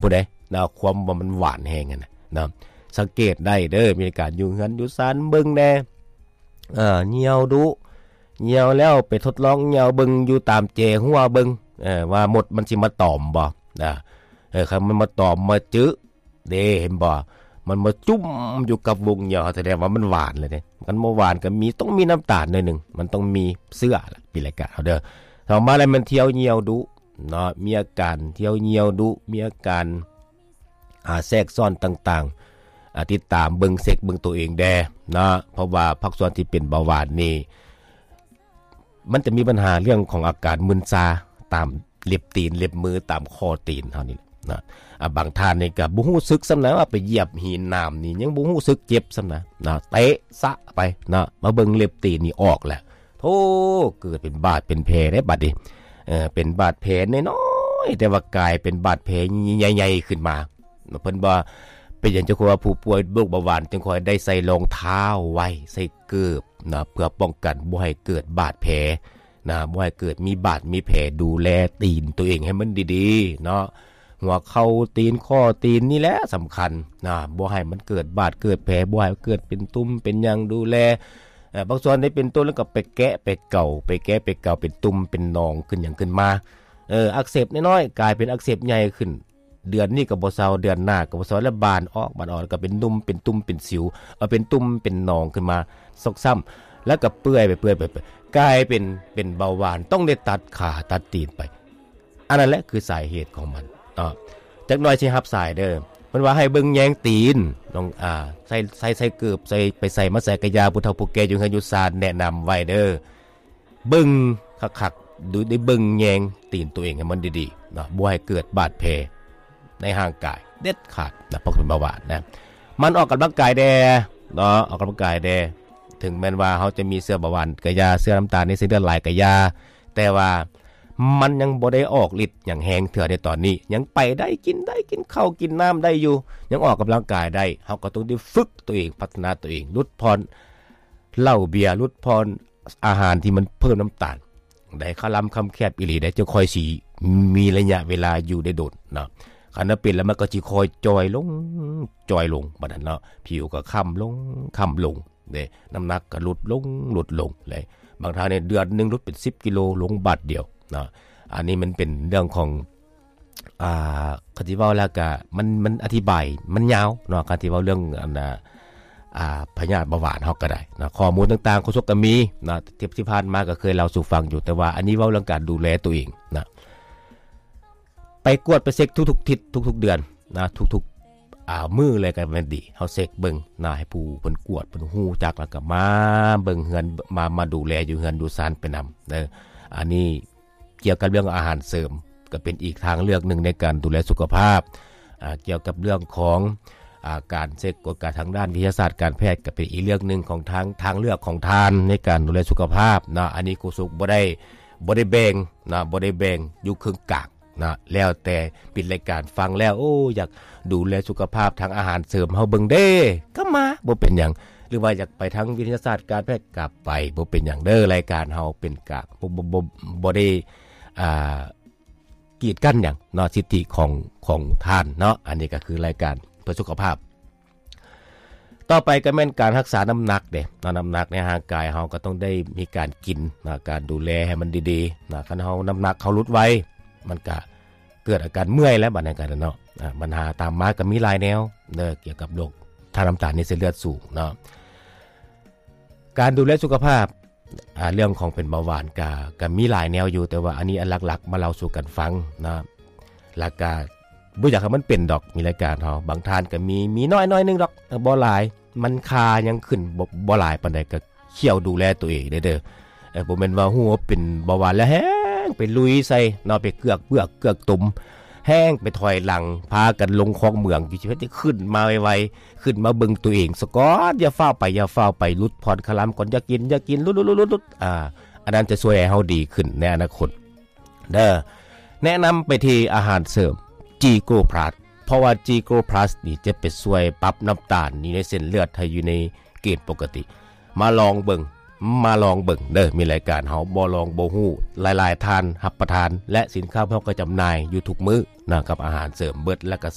ຜູ້ໃດນະ ຄວາມວ່າມັນຫວານແຮງຫັ້ນນະເນາະ. ສັງເກດໄດ້ເດີ ມີການຢູ່ເຮືອນຢູ່ຊານເບິ່ງແດ່ ເອີ ຍ່ຽວດຸ ຍ່ຽວແລ້ວໄປທົດລອງຍ່ຽວເບິ່ງຢູ່ຕາມແຈຮົ້ວເບິ່ງ ເອີ ວ່າມົດມັນຊິມາຕອມບໍ່ນະ. ເອີ ຄັນມັນມາຕອມມາຈຶເດ້ ເຫັນບໍ່ ມັນມາຈຸ້ມຢູ່ກັບວົງຍ່ຽວ ສະແດງວ່າມັນຫວານແລ້ວເດ້. ຄັນບໍ່ຫວານກໍມີ ຕ້ອງມີນ້ຳຕານໜ້ອຍໜຶ່ງ ມັນຕ້ອງມີເຊື້ອລະ ປີລາຍກາເຮົາເດີ. ຕໍ່ມາແລ້ວແມ່ນທ່ຽວຍ່ຽວດຸ ເນາະ ມີອາການທ່ຽວຍ່ຽວດຸ ມີອາການ ອາ ແຊກຊ້ອນຕ່າງໆ ອາ ຕິດຕາມເບິ່ງເຊັກເບິ່ງໂຕເອງແດ່ເນາະ. ເພາະວ່າພາກສ່ວນທີ່ເປັນເບົາຫວານນີ້ ມັນຈະມີບັນຫາເລື່ອງຂອງອາການມຶນຊາຕາມເລັບຕີນ ເລັບມື ຕາມຂໍ້ຕີນເຮົານີ້ແຫຼະເນາະ. ອາ ບາງທ່ານນີ້ກໍບໍ່ຮູ້ສຶກຊ້ຳນະ ວ່າໄປຢຽບຫີນໜາມນີ້ຍັງບໍ່ຮູ້ສຶກເຈັບຊ້ຳນະເນາະ ເຕະຊະໄປເນາະ ມາເບິ່ງເລັບຕີນນີ້ອອກແລ້ວ ໂທ້ ເກີດເປັນບາດເປັນແຜເດ້ບັດນີ້. ເອີ ເປັນບາດແຜນ້ອຍໆ ແຕ່ວ່າກາຍເປັນບາດແຜໃຫຍ່ໆຂຶ້ນມາ. ເພິ່ນວ່າເປັນຫຍັງຈັ່ງຄ່ອຍວ່າຜູ້ປ່ວຍໂລກເບົາຫວານຈຶ່ງຄ່ອຍໄດ້ໃສ່ລອງເທົ້າໄວ້ ໃສ່ເກີບນະ ເພື່ອປ້ອງກັນບໍ່ໃຫ້ເກີດບາດແຜນະ ບໍ່ໃຫ້ເກີດມີບາດມີແຜ ດູແລຕີນໂຕເອງໃຫ້ມັນດີໆເນາະ. ຫົວເຂົ່າຕີນ ຂໍ້ຕີນນີ້ແຫຼະສຳຄັນນະ ບໍ່ໃຫ້ມັນເກີດບາດເກີດແຜ ບໍ່ໃຫ້ເກີດເປັນຕຸ່ມເປັນຫຍັງ ດູແລ. ເອີ ບາງສ່ວນໄດ້ເປັນຕຸ່ມແລ້ວກໍໄປແກະໄປເກົາ ໄປແກະໄປເກົາ ເປັນຕຸ່ມເປັນໜອງຂຶ້ນຫຍັງຂຶ້ນມາ. ເອີ ອັກເສບນ້ອຍໆ ກາຍເປັນອັກເສບໃຫຍ່ຂຶ້ນ ເດືອນນີ້ກໍບໍ່ເຊົາ ເດືອນໜ້າກໍບໍ່ເຊົາ ແລ້ວບານອອກ ບານອອກ ແລ້ວກໍເປັນຕຸ່ມເປັນຕຸ່ມເປັນສິວ ເອີ ເປັນຕຸ່ມເປັນໜອງຂຶ້ນມາຊອກຊ້ຳ ແລ້ວກໍເປື່ອຍໄປ ເປື່ອຍໄປ ເປື່ອຍ ກາຍເປັນ ເປັນເບົາຫວານ ຕ້ອງໄດ້ຕັດຂາຕັດຕີນໄປ. ອັນນັ້ນແຫຼະຄືສາເຫດຂອງມັນເນາະ. ຈັກໜ່ອຍຊິຮັບສາຍເດີ ເພິ່ນວ່າໃຫ້ເບິ່ງແຍງຕີນ ລອງ ອາ ໃສ່ ໃສ່ ໃສ່ເກີບ ໃສ່ ໄປໃສ່ມາໃສ່ກະຢ່າ ຜູ້ເຖົ້າຜູ້ແກ່ຢູ່ເຮືອນຢູ່ຊານແນະນຳໄວ້ເດີ ເບິ່ງຄັກໆ ດູ ໄດ້ເບິ່ງແຍງຕີນໂຕເອງໃຫ້ມັນດີໆເນາະ ບໍ່ໃຫ້ເກີດບາດແຜໃນຮ່າງກາຍເດັດຂາດນະ ເພາະເປັນເບົາຫວານນະ. ໝັ່ນອອກກຳລັງກາຍແດ່ເນາະ ອອກກຳລັງກາຍແດ່ ເຖິງແມ່ນວ່າເຮົາຈະມີເຊື້ອເບົາຫວານກະຢ່າ ເຊື້ອນ້ຳຕານໃນເສັ້ນເລືອດຫຼາຍກະຢ່າ ແຕ່ວ່າມັນຍັງບໍ່ໄດ້ອອກລິດຫຍັງແຮງເທື່ອໃນຕອນນີ້ ຍັງໄປໄດ້ ກິນໄດ້ ກິນເຂົ້າກິນນ້ຳໄດ້ຢູ່ ຍັງອອກກຳລັງກາຍໄດ້ ເຮົາກໍຕ້ອງໄດ້ຝຶກໂຕເອງ ພັດທະນາໂຕເອງ ຫຼຸດຜ່ອນເຫຼົ້າເບຍ ຫຼຸດຜ່ອນ ອາຫານທີ່ມັນເພີ່ມນ້ຳຕານ ໄດ້ຄະລຳຄຳແຄບອີ່ຫຼີໄດ໋ ຈັ່ງຄ່ອຍຊິມີໄລຍະເວລາຢູ່ໄດ້ດົນເນາະ. ຄັນວ່າເປັນແລ້ວມັນກໍຊິຄ່ອຍຈ່ອຍລົງ ຈ່ອຍລົງ ບາດນັ້ນເນາະ ຜິວກໍຄ້ຳລົງ ຄ້ຳລົງເດ້ ນ້ຳໜັກກໍຫຼຸດລົງ ຫຼຸດລົງເລີຍ. ບາງທ່ານນີ້ເດືອນໜຶ່ງຫຼຸດເປັນສິບກິໂລ ລົງບາດດຽວເນາະ. ອັນນີ້ມັນເປັນເລື່ອງຂອງ ອ່າ ຄັນຊິເວົ້າແລ້ວກະ ມັນ ມັນອະທິບາຍມັນຍາວເນາະ ຄັນຊິເວົ້າເລື່ອງອັນ ອ່າ ພະຍາດເບົາຫວານເຮົາກໍໄດ້ເນາະ. ຂໍ້ມູນຕ່າງໆ ໂຄສົກກໍມີເນາະ ທີ່ ທີ່ຜ່ານມາກໍເຄີຍເລົ່າສູ່ຟັງຢູ່ ແຕ່ວ່າອັນນີ້ເວົ້າເລື່ອງການດູແລໂຕເອງເນາະ. ໄປກວດໄປເຊັກທຸກໆທິດ ທຸກໆເດືອນນະ ທຸກໆ ອ່າ ມື້ເລີຍກໍແມ່ນດີ ເຮົາເຊັກເບິ່ງນະ ໃຫ້ຜູ້ເພິ່ນກວດເພິ່ນຮູ້ຈັກ ແລ້ວກໍມາເບິ່ງເຮືອນ ມາ ມາດູແລຢູ່ເຮືອນຢູ່ຊານໄປນຳເດີ. ອັນນີ້ ກ່ຽວກັບເລື່ອງອາຫານເສີມ ກໍເປັນອີກທາງເລືອກໜຶ່ງໃນການດູແລສຸຂະພາບ. ອ່າ ກ່ຽວກັບເລື່ອງຂອງ ອ່າ ການເຊັກກວດກາທາງດ້ານວິທະຍາສາດການແພດ ກໍເປັນອີກເລື່ອງໜຶ່ງຂອງທາງ ທາງເລືອກຂອງທ່ານໃນການດູແລສຸຂະພາບເນາະ. ອັນນີ້ໂຄສົກບໍ່ໄດ້ ບໍ່ໄດ້ແບ່ງເນາະ ບໍ່ໄດ້ແບ່ງຢູ່ເຄິ່ງກາງເນາະ ແລ້ວແຕ່ປິດລາຍການຟັງແລ້ວ ໂອ້ ຢາກ ດູແລສຸຂະພາບທາງອາຫານເສີມເຮົາເບິ່ງເດ້ ກໍມາ ບໍ່ເປັນຫຍັງ ຫຼືວ່າຢາກໄປທາງວິທະຍາສາດການແພດ ກໍໄປ ບໍ່ເປັນຫຍັງເດີ. ລາຍການເຮົາເປັນກາງ ບໍ່ ບໍ່ ບໍ່ ບໍ່ໄດ້ ອ່າ ກີດກັ້ນຫຍັງເນາະ ສິດທິຂອງ ຂອງທ່ານເນາະ. ອັນນີ້ກໍຄືລາຍການເພື່ອສຸຂະພາບ. ຕໍ່ໄປກໍແມ່ນການຮັກສານ້ຳໜັກເດ້ເນາະ ນ້ຳໜັກໃນຮ່າງກາຍເຮົາກໍຕ້ອງໄດ້ມີການກິນເນາະ ການດູແລໃຫ້ມັນດີໆເນາະ. ຄັນເຮົານ້ຳໜັກເຮົາຫຼຸດໄວ ມັນກະເກີດອາການເມື່ອຍແລ້ວ ບາດນັ້ນກະເນາະ. ອາ ບັນຫາຕາມມາກໍມີຫຼາຍແນວເດີ ກ່ຽວກັບໂລກທາດນ້ຳຕານໃນເສັ້ນເລືອດສູງເນາະ. ການດູແລສຸຂະພາບ ອາ ເລື່ອງຂອງເປັນເບົາຫວານກະ ກະມີຫຼາຍແນວຢູ່ ແຕ່ວ່າອັນນີ້ອັນຫຼັກໆມາເລົ່າສູ່ກັນຟັງເນາະ. ແລ້ວກະບໍ່ຢາກໃຫ້ມັນເປັນດອກ ມີລາຍການເຮົາ ບາງທ່ານກໍມີ ມີນ້ອຍໜ້ອຍໜຶ່ງດອກ ບໍ່ຫຼາຍ ມັນຄ່າຍັງຂຶ້ນບໍ່ ບໍ່ຫຼາຍປານໃດ ກໍຄ່ອຍດູແລໂຕເອງເດີ. ເອີ ບໍ່ແມ່ນວ່າຮູ້ວ່າເປັນເບົາຫວານແລ້ວແຮ່ງໄປລຸຍໃສ່ເນາະ ໄປເກືອກເບືອກເກືອກຕຸມ ແຮ່ງໄປຖອຍຫຼັງ ພາກັນລົງຄອງເໝືອງຢູ່ ຊິເຮັດໃຫ້ຂຶ້ນມາໄວໆ ຂຶ້ນມາເບິ່ງໂຕເອງສາກ່ອນ ຢ່າຟ້າວໄປ ຢ່າຟ້າວໄປ ຫຼຸດຜ່ອນຄະລຳກ່ອນ ຢ່າກິນ ຢ່າກິນ ຫຼຸດໆໆໆ ອາ ອັນນັ້ນຈະຊ່ວຍໃຫ້ເຮົາດີຂຶ້ນໃນອະນາຄົດເດີ. ແນະນຳໄປທີ່ອາຫານເສີມ G Gold Plus ເພາະວ່າ G Gold Plus ນີ້ຈະໄປຊ່ວຍປັບນ້ຳຕານຢູ່ໃນເສັ້ນເລືອດໃຫ້ຢູ່ໃນເກນປົກກະຕິ. ມາລອງເບິ່ງ ມາລອງເບິ່ງເດີ ມີລາຍການເຮົາບໍ່ລອງບໍ່ຮູ້ ຫຼາຍໆທ່ານຮັບປະທານ ແລະສິນຄ້າພວກເຮົາກໍຈຳໜ່າຍຢູ່ທຸກມື້ນະ ກັບອາຫານເສີມເບິດ ແລະກໍ